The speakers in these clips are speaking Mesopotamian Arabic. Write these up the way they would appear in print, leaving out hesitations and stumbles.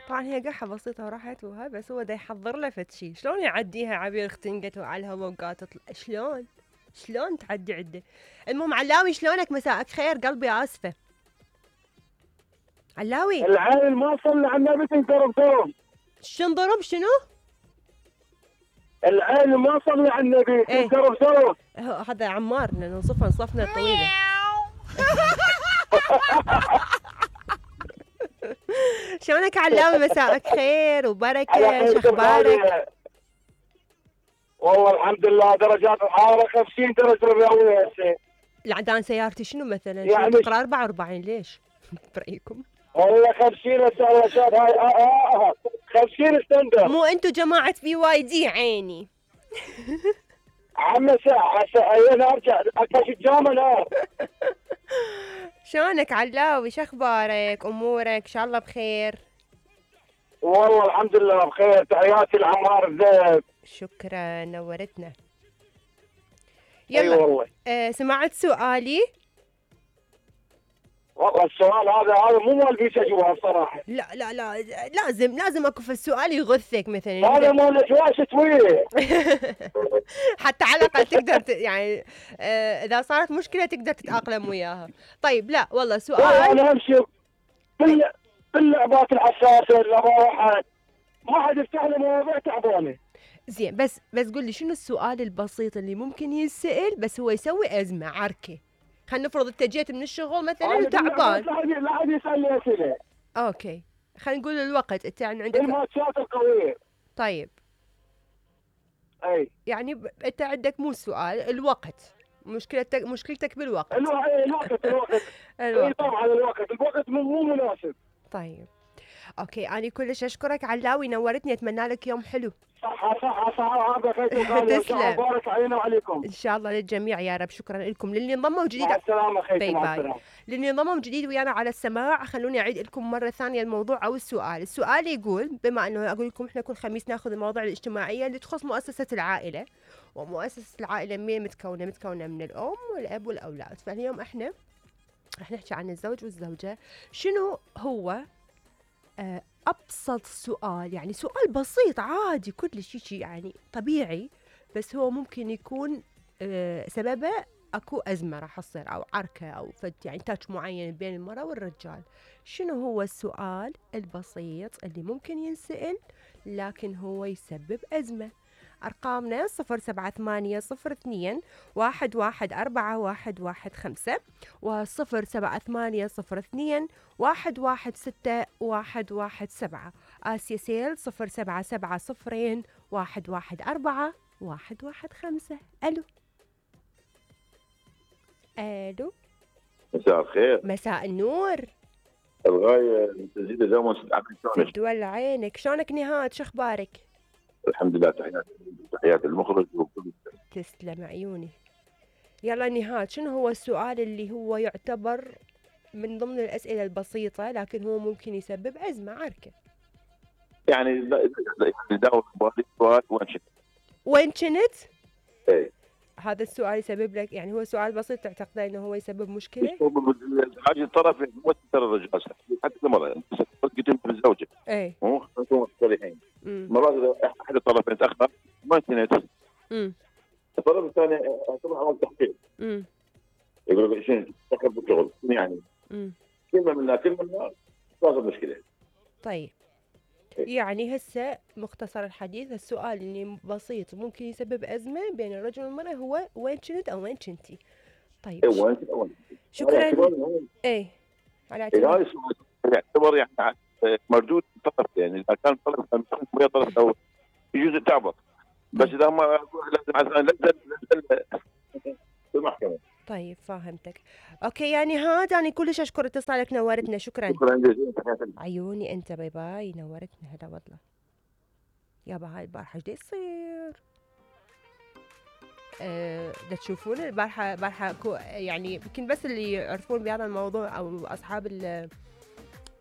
طبعا هي قحة بسيطة وراحت وهاي، بس هو دا يحضر له فد شي. شلون يعديها عبير اختنقت وعلى الهوا وقاعدة تطلع؟ شلون تعدي عده؟ المهم علاوي شلونك؟ مساءك خير قلبي، اسفة علاوي. العين ما صلى على النبي تنضرب ضرب. شنضرب شنو؟ العين ما صلى على النبي تنضرب ضرب. هذا عمار لانه صفنا طويلة. شلونك علاوي؟ مساءك خير وبركة، شخبارك؟ والله الحمد لله، درجات الحرارة 50 درجة مئوية هسه. العدان سيارتي شنو مثلا؟ يعني شنو تقرا 44 ليش؟ برأيكم؟ والله 50 هسه رشاد هاي 50 ستاندر. مو انتو جماعة BYD عيني. عم هسه انا ارجع اكاش الجامعة نار. شلونك علاوي؟ شخبارك؟ امورك ان شاء الله بخير؟ والله الحمد لله بخير. تحياتي لعمار الذهب. شكرا نورتنا. يلا والله. سمعت سؤالي؟ والله السؤال هذا مو مال بيش جواب صراحه. لا لازم اكو في السؤال يغثك مثلا. هذا مال جواز طويل. حتى على الاقل تقدر يعني اذا صارت مشكله تقدر تتاقلم وياها. طيب لا والله سؤال. انا امشي باللعبات الحساسه اللي واحد ما حد يفتح لي مواضيع تعبانه. زين بس قول لي شنو السؤال البسيط اللي ممكن ينسال بس هو يسوي ازمه عركه؟ خلينا نفرض انت جيت من الشغل مثلا وتعبان. لا حد يسالني اسئله. اوكي خلينا نقول الوقت انت يعني عندك الماتشات القويه. طيب اي يعني انت عندك مو السؤال، الوقت. مشكلتك بالوقت. الوقت اي طبعا الوقت مو مناسب. طيب اوكي انا كلش اشكرك علاوي، نورتني، اتمنى لك يوم حلو. صح هذا خير. تسلم. بارك علينا وعليكم ان شاء الله للجميع يا رب. شكرا لكم للي انضموا جديد. مع السلامه خيتي. مع السلامه. للي انضموا جديد ويانا على السماع، خلوني اعيد لكم مره ثانيه الموضوع او السؤال يقول، بما انه اقول لكم احنا كل خميس ناخذ المواضيع الاجتماعيه اللي تخص مؤسسه العائله، ومؤسسه العائله مين متكونه من الام والاب والاولاد. فاليوم احنا رح نحكي عن الزوج والزوجه. شنو هو أبسط سؤال، يعني سؤال بسيط عادي كل شيء يعني طبيعي، بس هو ممكن يكون سببه أكو أزمة راح تصير أو عركة أو فد يعني تاتش معين بين المرأة والرجال. شنو هو السؤال البسيط اللي ممكن ينسأل لكن هو يسبب أزمة؟ أرقامنا 0782-114-115 و0782-116-117. آسيا سيل 0770-114-115. ألو مساء الخير. مساء النور. الغاية تزيد دوما تدول عينك. شلونك نهاد؟ شخبارك؟ الحمد لله. تحيات المخرج وكل. تسلم عيوني. يلا نهاد، شنو هو السؤال اللي هو يعتبر من ضمن الأسئلة البسيطة لكن هو ممكن يسبب أزمة عركة؟ يعني داور سؤال وين كنت؟ ايه هذا السؤال يسبب لك، يعني هو سؤال بسيط تعتقد انه هو يسبب مشكله؟ حاجه الطرف مو ترى الرجال حتى المراه قلت بالزوجه. اي مو نكون صريحين. مرات احد الطرفين تاخر ما كنت. الطرف الثاني طبعا عمل تحقيق. يقول لك شنو تاخر بالشغل يعني. كلمه منا صار مشكله. طيب يعني هسه مختصر الحديث، السؤال اللي بسيط ممكن يسبب أزمة بين الرجل والمرأة هو وين كنت أو وين كنتي. طيب وين شكرا. ايه على اعتبار يعتبر يعني مردود طرف، يعني اذا كان طرف ويا طرف او يجوز تعبط، بس اذا ما لازم في المحكمه. طيب فاهمتك. اوكي يعني هذا انا كلش اشكر اتصالك، نورتنا. شكرا جزيلا. عيوني انت، باي باي، نورتنا. هلا والله يابا. هاي البارحه ايش يصير؟ دا تشوفون البارحه يعني يمكن بس اللي يعرفون بهذا الموضوع او اصحاب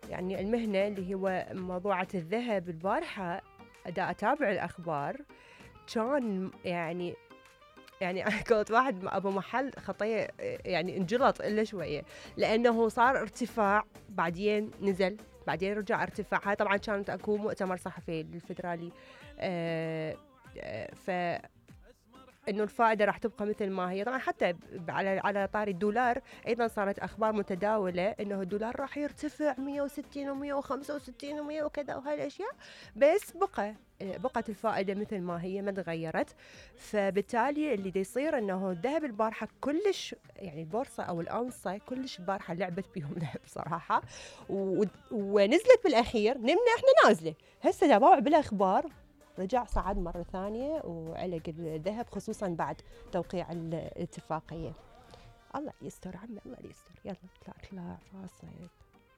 يعني المهنه اللي هو موضوعة الذهب. البارحه دا اتابع الاخبار كان يعني قلت واحد ابو محل خطيه يعني انجلط الا شويه، لانه صار ارتفاع بعدين نزل بعدين رجع ارتفع. هاي طبعا كانت اكو مؤتمر صحفي للفدرالي، ف انه الفائده راح تبقى مثل ما هي. طبعا حتى على طاري الدولار ايضا صارت اخبار متداوله انه الدولار راح يرتفع 160 و165 و100 وكذا وهاي الاشياء، بس بقت الفائده مثل ما هي ما تغيرت. فبالتالي اللي دا يصير انه الذهب البارحه كلش يعني البورصه او الاونصه كلش البارحه لعبت بيهم ذهب صراحه، ونزلت بالاخير نمنا احنا نازله. هسه تابعوا بالاخبار رجع صعد مرة ثانية وعلق الذهب، خصوصا بعد توقيع الاتفاقية. الله يستر عمي، الله يستر. يلا اطلع راسك.